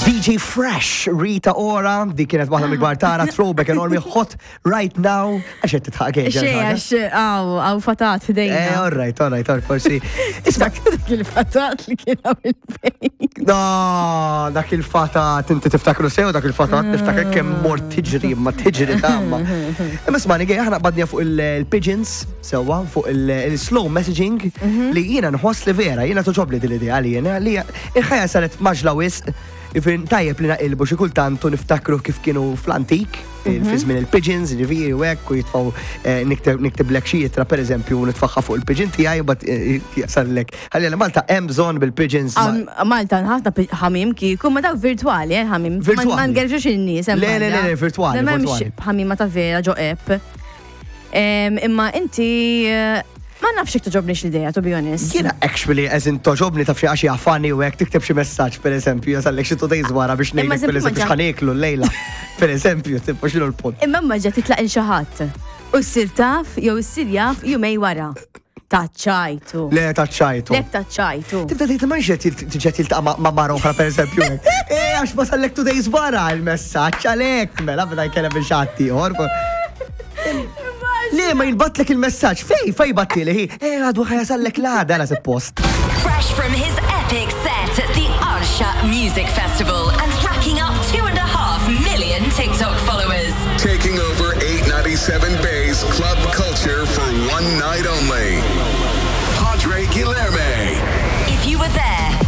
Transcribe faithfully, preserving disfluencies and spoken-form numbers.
D J Fresh, Rita Ora, di kienet waħda mill-kbar tara, throwback enormi, Hot Right Now, għax qed titħaq? Xej, għax għaw, għaw fatat Eh, ħdejna. all right, all right, all right, forsi. Isma, Dak il-fatat li kien għaw il-bejt. No, dak il-fatat, inti tiftakru sew dak il-fatat, niftakar kemm mort tiġri, ma tiġri tamma. Imma smani għej, aħna badnija fuq il-pigeons, sewwa, fuq il-slow messaging, li jiena nħoss li vera, jiena togħġobni din l-idea li jiena, li il-ħajja saret mgħaġġla wisq, ifin tajjeb li naqilbu xi kultant u niftakru kif kienu fl-antik, fi żmien il-pigeons, ġifieri u hekk, u jitfgħu eh, nikteb niktiblek xi ittra, pereżempju, u nitfaħħa fuq il-pigeon tiegħi u bat jasallek. Ħalli Malta hemm bżonn bil-pigeons. ma- Malta ħafna pi- ħamim kieku, ma dawk virtuali, eh, ħamim. Virtuali. Ma ngerġux in-nies. Hemm Le, le, le, barra. le, virtuali, Le, m'hemmx virtuali. ħamima ta' vera ġo app. Em, Imma inti, eh, ma nafx jekk togħġobnix l-idea, to be honest. Jiena actually, as in, togħġobni, taf xi, għax jafani u hekk tikteb xi messaġġ, pereżempju, jasallek xi two days wara biex Imma ngħidlek eżempju pereżempju ma ġa- x'ħa nieklu llejla. Pereżempju, tipo x'inhu l-punt? Imma ma ġa titlaq il xi ħadd. U ssir taf, jew issir jaf jumej wara. Taċċajtu. Le, taċċajtu. Lek taċċajtu. Tibda tgħid ma xed tiġet jiltaqa' ma' ma' mara oħra, pereżempju, hekk. Eh, għax wasallek two days wara il-messaġġ għalhekk mela beda jkellem biex ħadd ieħor. Le, ma jinbatlek il-messaġġ. Fej, fej battili hi? Eh, għadu ħa jasallek l-għada la suppost. Fresh from his epic set at the Arsha Music Festival and racking up